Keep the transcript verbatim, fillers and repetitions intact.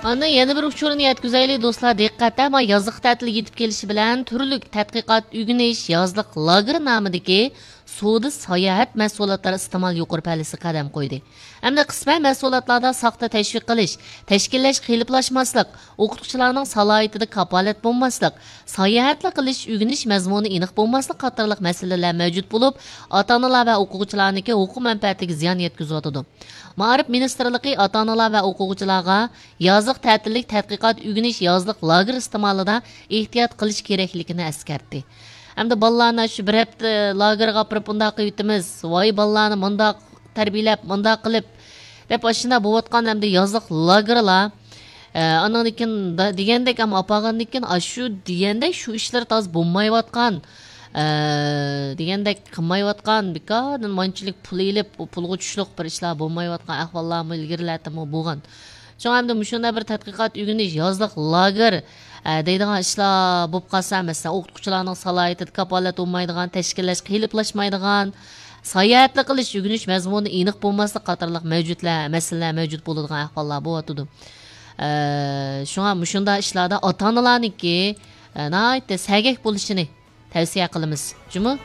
ئاندىن يەنە بىر ئۇچۇرنى يەتكۈزەيلى، دوستلار، دىققەت! ئەمما يازلىق تەتىل يېتىپ كېلىشى بىلەن تۈرلۈك تەتقىقات ئۆگىنىش يازلىق لاگېر نامىدىكى سودا ساياھەت مەھسۇلاتلار ئىستېمال يۇقىرى پەللىسى قەدەم قويدى. ھەمدە قىسمەن مەھسۇلاتلاردا ساختا تەشۋىق قىلىش، تەشكىللەش قېلىپلاشماسلىق، ئوقۇتقۇچىلارنىڭ سالاھىيىتىدە كاپالەت بولماسلىق، ساياھەتلا قىلىش، ئۆگىنىش مەزمۇنى ئېنىق بولماسلىق قاتارلىق مەسىلىلەر مەۋجۇت بولۇپ، ئاتا-ئانىلار ۋە ئوقۇغۇچىلارنىڭكى ھوقۇق مەنپەئەتىگە زىيان يەتكۈزۈۋاتىدۇ. مائارىپ مىنىستىرلىقى ئاتا-ئانىلار ۋە ئوقۇغۇچىلارغا يازلىق تەتىللىك تەتقىقات ئۆگىنىش يازلىق لاگېر ئىستېمالىدا ئېھتىيات قىلىش كېرەكلىكىنى ئەسكەرتتى. ھەمدە بالىلارنى شۇ بىر ھەپتە لاگېرغا ئاپىرىپ بۇنداق قىلىۋېتىمىز، ۋاي بالىلارنى مۇنداق تەربىيەلەپ، مۇنداق قىلىپ، دەپ ئاشۇنداق بولۇۋاتقان ھەمدە يازلىق لاگېرلار، ئە، ئانىڭدىن كېيىن دا-، دېگەندەك، ئەمما ئاپارغاندىن كېيىن، ئاشۇ دېگەندەك شۇ ئىشلار تازا بولمايۋاتقان، ئە، دېگەندەك قىلمايۋاتقان، بىكاردىن مانچىلىك پۇل ئېلىپ، ئۇ پۇلغا چۈشلۈق بىر ئىشلار بولمايۋاتقان ئەھۋاللارمۇ ئىلگىرىلەردىمۇ بولغان. شۇڭا ئەمدى مۇشۇنداق بىر تەتقىقات ئۆگىنىش يازلىق لاگېر، ئە، دەيدىغان ئىشلار بولۇپ قالسا، مەسىلەن، ئوقۇتقۇچىلارنىڭ سالاھىيىتىدە كاپالەت بولمايدىغان، تەشكىللەش قېلىپلاشمايدىغان، ساياھەتلا قىلىش، ئۆگىنىش مەزمۇنى ئېنىق بولماسلىق قاتارلىق مەۋجۇتلار، مەسىلىلەر مەۋجۇت بولىدىغان ئەھۋاللار بولۇۋاتىدۇ. ئە، شۇڭا مۇشۇنداق ئىشلاردا ئاتا-ئانىلارنىڭكى، ئە، ناھايىتى سەگەك بولۇشىنى تەۋسىيە قىلىمىز. جۇمۇ؟